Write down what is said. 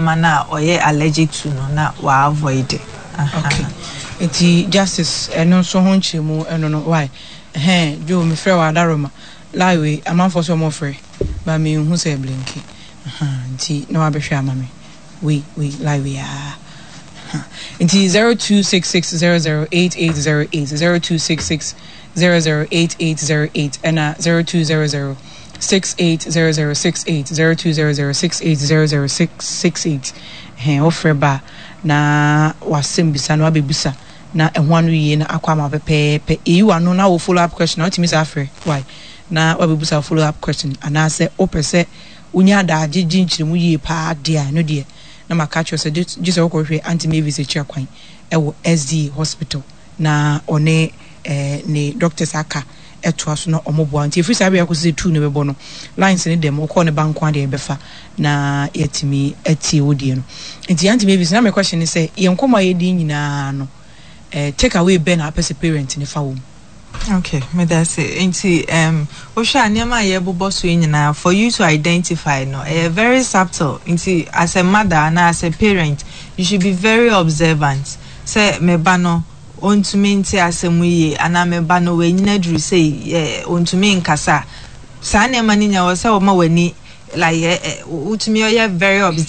nneɛma no a ɔyɛ allergic to no na wa avoid. Okay. Nti Justice ɛno nso ho nkyerɛmu ɛno no why? Ɛhɛn Joe mefrɛ wo Adaroma lie wei amanfoɔ sɛ ɔmo frɛ but menhu sɛ ɛblinki ahaa nti na wabɛhwɛ ama me wei wei lie wei aa ahaa nti 0266008808 0266008808 ɛna 0200 680068 0200680068 ɛhɛn wofrɛ ba a na wasɛm bisa no wabɛbisa na ɛho ano yie na akɔ ama wo pɛpɛɛpɛ. Yɛyi w'ano na wo follow up question a, wotumi san frɛ wai na wabɛbusa wo follow up question anaasɛ wopɛ sɛ wonya adaagye gye nkyerɛmu yie paa deɛ a, ɛno deɛ na maka akyerɛ wo sɛ gye sɛ wokɔhwehwɛ Aunty Mavis akyira kwan wɔ SDA hospital na ɔne eh, ne doctors aka ɛtoa so na ɔmo boa nti ɛfiri saa berɛ akɔsi sɛ tuu no bɛbɔ no lines no dɛm wokɔɔ ne ba nko adeɛ ɛbɛfa na yɛatumi atie wo deɛ no nti Aunty Mavis na me question ne sɛ yɛn nkɔmmɔ a yɛdi nyinaa no eh, take away bɛn na apɛ sɛ parent ne fa wɔ mu? Okay, meda ase. Nti wohwɛ a nneɛma a yɛbobɔ so yi nyinaa for you to identify no, ɛyɛ very subtle. Nti as a mother anaa as a parent, you should be very observant. Sɛ me ba no, ɔntumi nte asɛm yie anaa me ba no wanyini aduru sei, ɔntumi nkasa. Saa nneɛma no nyinaa wɔ sɛ wɔma w'ani like wotumi ɔyɛ very observant.